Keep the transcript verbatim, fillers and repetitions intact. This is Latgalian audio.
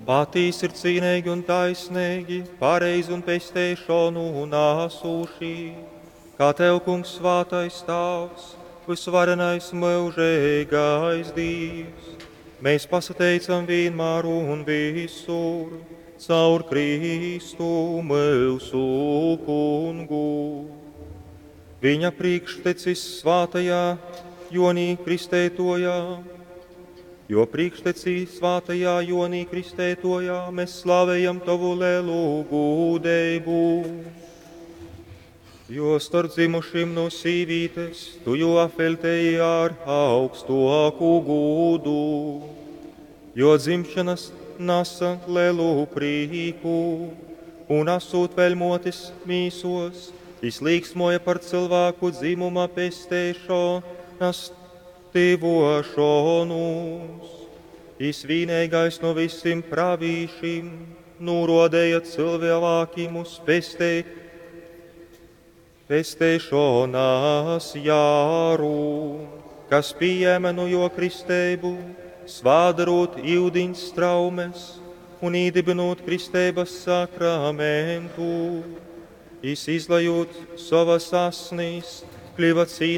Patīs ir cīneigi un taisneigi, pareizi un pesteišonu un asūši, kā Tev, Kungs, svātais Tāvs, vysvarenais myužeigais Dīvs. Mēs pasateicam vienmēr un visur, caur Kristu mūsu Kungu. Viņa priekštecis svātajā Jonī Kristeitojā, jo priekštecī svātajā Jonī Kristeitojā mēs slavējam Tovu lelu gūdeibu. Jo starp dzimušim no sīvītes tu jū apveltēji ar augstāku gūdu, jo dzimšanas nasa lelu prīku, un asūt vēl motis mīsos, izlīksmoja par cilvēku dzimuma pesteišanas tyvošanos. Jis vienīgais no visiem pravīšiem norodēja cilvēkiem uz pestei, pesteišanās jāru, kas pieņēma no jo kristeibu, svādarot iudiņas traumes un īdibinot kristeibas sakramentu. Jis izlajot savas asnīs, kļuva cīnīgs